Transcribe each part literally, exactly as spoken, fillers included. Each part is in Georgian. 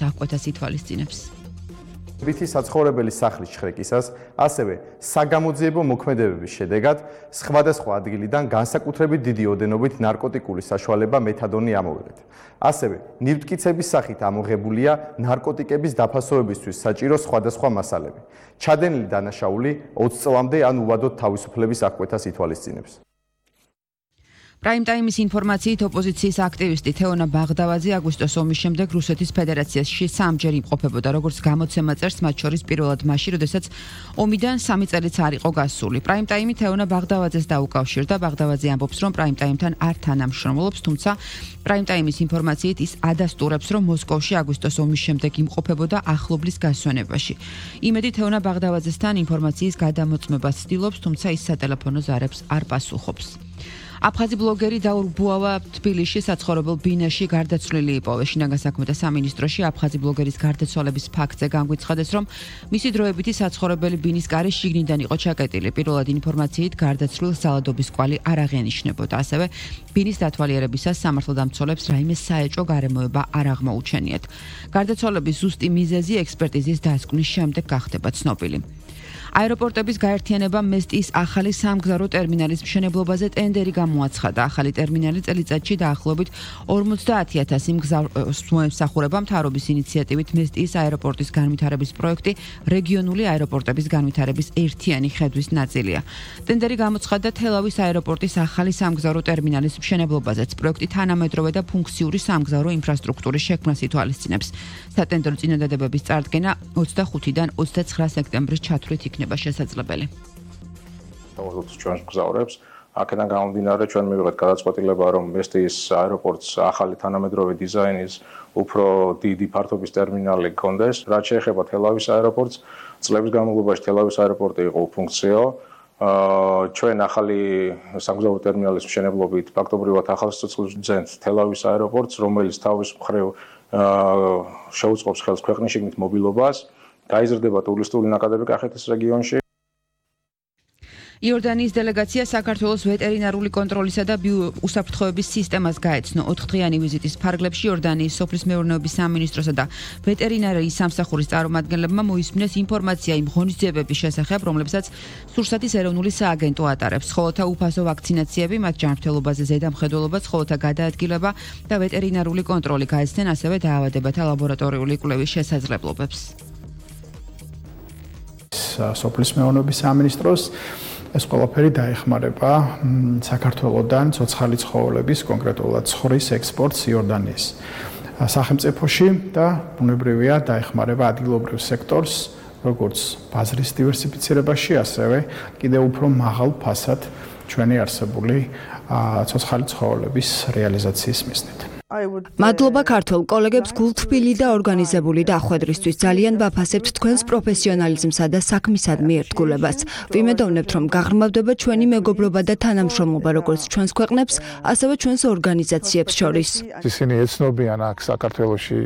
აღკვეთას ითვალისწინებს. Ვითი საცხოვრებელი სახლის შხრეკისას, ასევე საგამოძიებო მოქმედებების შედეგად სხვადასხვა ადგილიდან განსაკუთრებით დიდი ოდენობით ნარკოტიკული საშუალება მეთადონი ამოვიღეთ. ასევე ნივთკიცების სახით ამოღებულია ნარკოტიკების დაფასოებისთვის საჭირო სხვადასხვა მასალები. ჩადენილი დანაშაული ოცი წლამდე ან უვადოდ თავისუფლების აღკვეთას ითვალისწინებს. პრაიმ-ტაიმის ინფორმაციით ოპოზიციის აქტივისტი თეონა ბაღდავაძე აგვისტოს ომის შემდეგ რუსეთის ფედერაციაში სამჯერ იმყოფებოდა, როგორც გამოცემა წერს, მათ შორის პირველად მაშინ, როდესაც ომიდან სამი წელიც არ იყო გასული. პრაიმ-ტაიმი თეონა ბაღდავაძეს დაუკავშირდა. ბაღდავაძე ამბობს, რომ პრაიმ-ტაიმთან არ თანამშრომლობს, თუმცა პრაიმ-ტაიმის ინფორმაციით ის ადასტურებს, რომ მოსკოვში აგვისტოს ომის შემდეგ იმყოფებოდა ახლობლის გასვენებაში. იმედი თეონა ბაღდავაძესთან ინფორმაციის გადამოწმებას ცდილობს, თუმცა ის სატელეფონო ზარებს არ პასუხობს. აფხაზი ბლოგერი დაურ ბუავა თბილისში საცხოვრებელ ბინაში გარდაცვლილი იპოვეს. შინაგან საქმეთა სამინისტროში აფხაზი ბლოგერის გარდაცვალების ფაქტზე განგვიცხადეს, რომ მისი დროებითი საცხოვრებელი ბინის კარი შიგნიდან იყო ჩაკეტილი. პირველად ინფორმაციით გარდაცვლილს ძალადობის კვალი არ აღენიშნებოდა. ასევე ბინის დათვალიერებისას სამართალდამცველებს რაიმე საეჭვო გარემოება არ აღმოუჩენიათ. გარდაცვალების ზუსტი მიზეზი ექსპერტიზის დასკვნის შემდეგ გახდება ცნობილი. აეროპორტების გაერთიანება მესტიის ახალი სამგზავრო ტერმინალის მშენებლობაზე ტენდერი გამოაცხადა. ახალი ტერმინალი წელიწადში დაახლოებით ორმოცდაათი ათასი მსახურება მთავრობის ინიციატივით მესტიის აეროპორტის განვითარების პროექტი რეგიონული აეროპორტების განვითარების ერთიანი ხედვის ნაწილია. ტენდერი გამოცხადდა თელავის აეროპორტის ახალი სამგზავრო ტერმინალის მშენებლობაზეც. პროექტი თანამედროვე და ფუნქციური სამგზავრო ინფრასტრუქტურის შექმნას ითვალისწინებს. სატენდერო წინადადებების წარდგენა ოცდახუთიდან ოცდაცხრა სექტემბრის ჩათვლით იქნება შესაძლებელი. ჩვენს მგზავრებს აქედან გამომდინარე ჩვენ მივიღეთ გადაწყვეტილება, რომ მესტიის აეროპორტს ახალი თანამედროვე დიზაინის უფრო დიდი ფართობის ტერმინალი გქონდეს. რაც შეეხება თელავის აეროპორტს, წლების განმავლობაში თელავის აეროპორტი იყო უფუნქციო. ჩვენ ახალი სამგზავრო ტერმინალის მშენებლობით ფაქტობრივად ახალ სიცოცხლეს ვძენთ თელავის აეროპორტს, რომელიც თავის მხრივ შეუწყობს ხელს ქვეყნის შიგნით მობილობას. გაიზრდება ტურისტული ნაკადები კახეთის რეგიონში. იორდანიის დელეგაცია საქართველოს ვეტერინარული კონტროლისა და უსაფრთხოების სისტემას გაეცნო. ოთხდღიანი ვიზიტის ფარგლებში იორდანიის სოფლის მეურნეობის სამინისტროსა და ვეტერინარიის სამსახურის წარმომადგენლებმა მოისმინეს ინფორმაცია იმ ღონისძიებების შესახებ, რომლებსაც სურსათის ეროვნული სააგენტო ატარებს. ცხოველთა უფასო ვაქცინაციები, მათ ჯანმრთელობაზე ზედამხედველობა, ცხოველთა გადაადგილება და ვეტერინარული კონტროლი გაეცნენ ასევე დაავადებათა ლაბორატორიული კვლევის შესაძლებლობებს. სოფლის მეურნეობის სამინისტროს ეს ყველაფერი დაეხმარება საქართველოსდან ცოცხალი ცხოველების, კონკრეტულად ცხრის ექსპორტს იორდანიის სახელმწიფოში და ბუნებრივია დაეხმარება ადგილობრივ სექტორს, როგორც ბაზრის დივერსიფიცირებაში, ასევე კიდევ უფრო მაღალ ფასად ჩვენი არსებული ცოცხალი ცხოველების რეალიზაციის მიზნით. მადლობა ქართველ კოლეგებს გულთბილი და ორგანიზებული დახვედრისთვის. ძალიან ვაფასებთ თქვენს პროფესიონალიზმსა და საქმისადმი ერთგულებას. ვიმედოვნებთ, რომ გაღრმავდება ჩვენი მეგობრობა და თანამშრომლობა როგორც ჩვენს ქვეყნებს, ასევე ჩვენს ორგანიზაციებს შორის. ისინი ეცნობიან აქ საქართველოში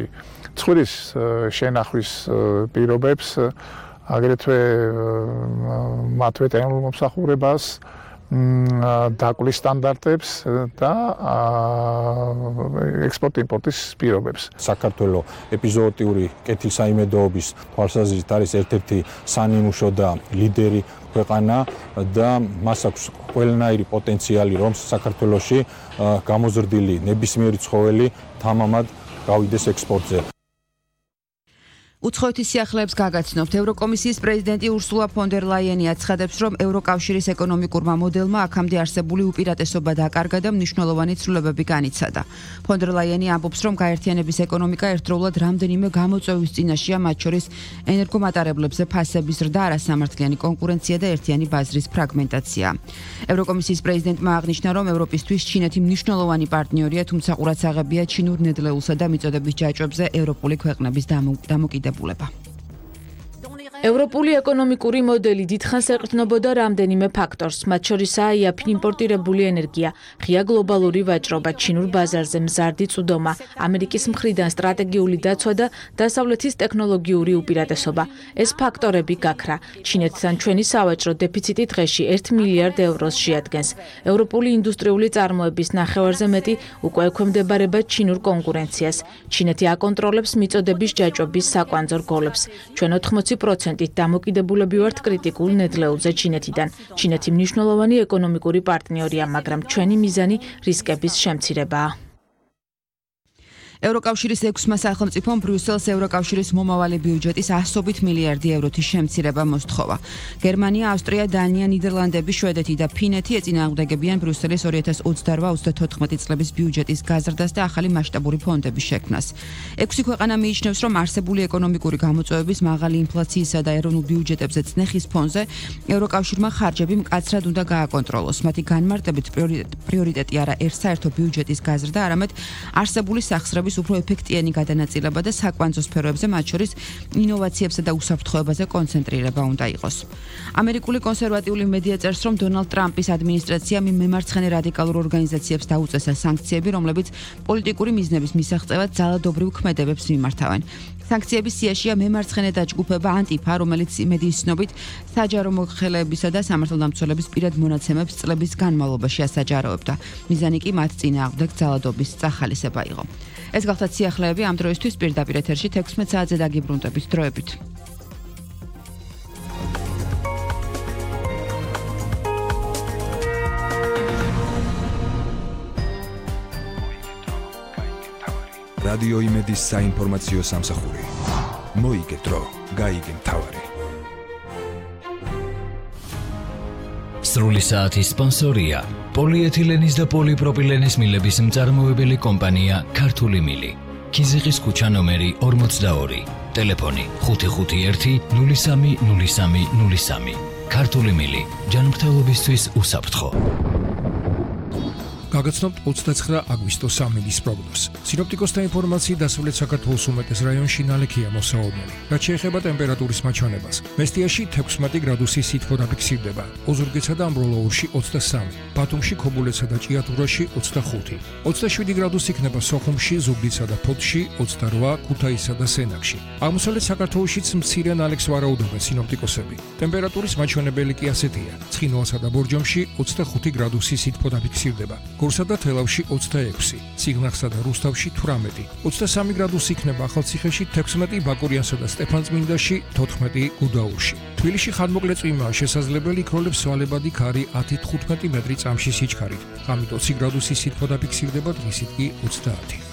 ცხრის შენახვის პირობებს, აგრეთვე მათ ვეტერინარულ მომსახურებას, დაკლის სტანდარტებს და ექსპორტ-იმპორტის პირობებს. საქართველოს ეპიზოოტიური კეთილსაიმედოობის თვალსაზრისით არის ერთ-ერთი სანიმუშო და ლიდერი ქვეყანა და მას აქვს ყველანაირი პოტენციალი, რომ საქართველოში გამოზრდილი ნებისმიერი ცხოველი თამამად გავიდეს ექსპორტზე. უცხოეთის სიახლეებს გაგაცნობთ. ევროკომისიის პრეზიდენტი ურსულა ფონ დერ ლაიენი აცხადებს, რომ ევროკავშირის ეკონომიკურმა მოდელმა აქამდე არსებული უპირატესობა დაკარგა და მნიშვნელოვანი ცვლილებები განიცადა. ფონ დერ ლაიენი ამბობს, რომ გაერთიანების ეკონომიკა ერთდროულად რამდენიმე გამოწვევის წინაშეა, მათ შორის ენერგომატარებლებზე ფასების ზრდა, არასამართლიანი კონკურენცია და ერთიანი ბაზრის ფრაგმენტაცია. ევროკომისიის პრეზიდენტმა აღნიშნა, რომ ევროპისთვის ჩინეთი მნიშვნელოვანი პარტნიორია, თუმცა ყურადსაღებია ჩინურ ნედლეულსა და მიწოდების ჯაჭვებზე ევროპული ქვეყნების დამოკიდებულება. ევროპული ეკონომიკური მოდელი დიდხანს ეყრდნობოდა რამდენიმე ფაქტორს, მათ შორისაა იაფი იმპორტირებული ენერგია, ღია გლობალური ვაჭრობა, ჩინურ ბაზარზე მზარდი წვდომა, ამერიკის მხრიდან სტრატეგიული დაცვა და დასავლეთის ტექნოლოგიური უპირატესობა. ეს ფაქტორები გაქრა. ჩინეთთან ჩვენი სავაჭრო დეფიციტი დღეში ერთ მილიარდ ევროს შეადგენს. ევროპული ინდუსტრიული წარმოების ნახევარზე მეტი უკვე ექვემდებარება ჩინურ კონკურენციას. ჩინეთი აკონტროლებს მიწოდების ჯაჭვების საკვანძო რგოლებს. ჩვენ ოთხმოცი პროცენტი დამოკიდებულები ვართ კრიტიკულ ნედლეულზე ჩინეთიდან. ჩინეთი მნიშვნელოვანი ეკონომიკური პარტნიორია, მაგრამ ჩვენი მიზანი რისკების შემცირებაა. ევროკავშირის ექვსმა სახელმწიფომ ბრიუსელს ევროკავშირის მომავალი ბიუჯეტის ასობით მილიარდი ევროთი შემცირება მოსთხოვა. გერმანია, ავსტრია, დანია, ნიდერლანდები, შვედეთი და ფინეთი ეწინააღმდეგებიან ბრიუსელის ორი ათას ოცდაოთხ ოცდათოთხმეტი წლების ბიუჯეტის გაზრდას და ახალი მასშტაბური ფონდების შექმნას. ექვსი ქვეყანა მიიჩნევს, რომ არსებული ეკონომიკური გამოწვევების, მაღალი ინფლაციისა და ეროვნულ ბიუჯეტებზე წნეხის ფონზე ევროკავშირმა ხარჯები მკაცრად უნდა გააკონტროლოს. მათი განმარტებით პრიორიტეტი არა ერთსაერთო ბიუჯეტის გაზრდა, არამედ არსებული სახსრების უფრო ეფექტიანი გადანაწილება და საკვანძო სფეროებზე, მათ შორის ინოვაციებსა და უსაფრთხოებაზე კონცენტრირება უნდა იყოს. ამერიკული კონსერვატიული მედია წერს, რომ დონალდ ტრამპის ადმინისტრაციამ მემარცხენე რადიკალურ ორგანიზაციებს დაუწესა სანქციები, რომლებიც პოლიტიკური მიზნების მისაღწევად ძალადობრივ ქმედებებს მიმართავენ. სანქციების სიაშია მემარცხენე დაჯგუფება ანტიფა, რომელიც იმედის ცნობით საჯარო მოხელეებისა და სამართალდამცველების პირად მონაცემებს წლების განმავლობაში ასაჯაროებდა. მიზანი კი მათ წინააღმდეგ ძალადობის წახალისება იყო. ეს გახლდათ სიახლეები ამ დროისთვის პირდაპირ ეთერში თექვსმეტ საათზე დაგიბრუნდებით დროებით. რადიო იმედის საინფორმაციო სამსახური. მოიგე დრო, გაიგე მთავარი. სრული საათის სპონსორია პოლიეთილენის და პოლიპროპილენის მილების მწარმოებელი კომპანია ქართული მილი. ქიზიყის ქუჩა ნომერი ორმოცდაორი. ტელეფონი ხუთი ხუთი ერთი ნული სამი ნული სამი ნული სამი. ქართული მილი. ჯანმრთელობისთვის უსაფრთხო. გაგაცნობთ ოცდაცხრა აგვისტოს სამინდის პროგნოზს. სინოპტიკოსთა ინფორმაციით დასავლეთ საქართველოს უმეტეს რაიონში ნალექია მოსაოდნელი. რაც შეეხება ტემპერატურის მაჩვენებას, მესტიაში თექვსმეტი გრადუსი სითბო დაფიქსირდება, ოზურგეთსა და ამბროლაურში ოცდასამი, ბათუმში, ქობულეთსა და ჭიათურაში ოცდახუთი, ოცდაშვიდი გრადუსი იქნება სოხუმში, ზუგდიდსა და ფოთში, ოცდარვა, ქუთაისსა და სენაკში. აღმოსავლეთ საქართველოშიც მცირე ნალექს ვარაუდობენ სინოპტიკოსები. ტემპერატურის მაჩვენებელი კი ასეთია: ცხინვალსა და ბორჯომში ოცდახუთი გრადუსი სითბო დაფიქსირდება. გორსა და თელავში ოცდაექვსი, ციგნახსა და რუსთავში თვრამეტი, ოცდასამი გრადუსი იქნება ახალციხეში, თექვსმეტი ბაკურიანსა და სტეფანწმინდაში, თოთხმეტი გუდაურში. თბილისში ხანმოკლე წვიმაა შესაძლებელი, იქროლებს სვალებადი ქარი ათი თხუთმეტი მეტრი წამში სიჩქარით. ღამით ოცი გრადუსი სითბო დაფიქსირდება, დღისით კი ოცდაათი.